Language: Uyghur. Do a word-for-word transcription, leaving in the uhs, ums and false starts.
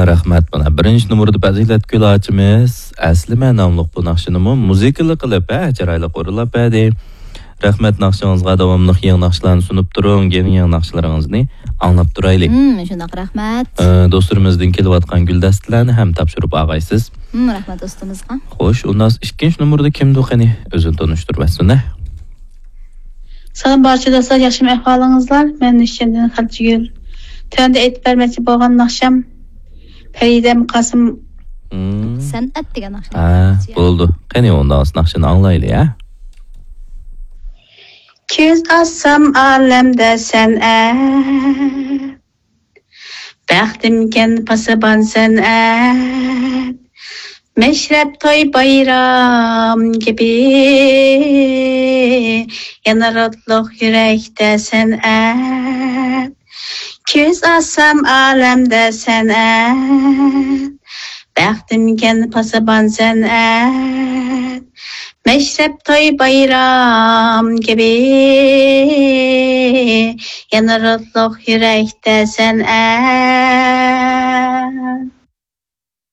رەھمەت. مانا بىرىنچى نومۇردا پەزىلەتگۈل ئاچىمىز ئەسلىمە ناملىق بۇ ناخشىنىمۇ مۇزىكىلىق قىلىپ، ھە، چىرايلىق ئورۇنلاپ بەردى. رەھمەت ناخشىڭىزغا، داۋاملىق يېڭى ناخشىلارنى سۇنۇپ تۇرۇڭ، يېڭى يېڭى ناخشىلىرىڭىزنى ئاڭلاپ تۇرايلى. ھىم، شۇنداق، رەھمەت. ئە، دوستلىرىمىزدىن كېلىۋاتقان گۈلدەستىلەرنى ھەم تاپشۇرۇپ ئالغايسىز. ھىم، رەھمەت دوستىمىزغا. خوش، ئۇنداق ئىككىنچى نومۇردا كىمدۇ قېنى؟ ئۆزىنى تونۇشتۇرۇپ ئەتسۇن، ھە؟ سالام بارچە دوستلار، ياخشىمۇ ئەھۋالىڭىزلار؟ مەن نىشاندىن خەلچىگۈل. تۆۋەندە ئېيتىپ بەرمەكچى بولغان ناخشام پەرىدەم قاسىم. ھىم. سەنئەت دېگەن ناخشا. ھە، بولىدۇ. قېنى، ئۇنداق ناخشىنى ئاڭلايلى، ھە؟ كۆز ئاچسام ئالەمدە سەنئەت، بەختىمكەن پاسىبان سەنئەت، مەشرەپ توي بايرام كېپى، يەنە روتلۇق يۈرەكتە سەنئەت. كۆز ئاچسام ئالەمدە سەنئەت، بەختىمكەن پاسىبان سەنئەت، مەشرەپ توي بايرام كېبى، يەنە روتلۇق يۈرەكتە سەنئەت.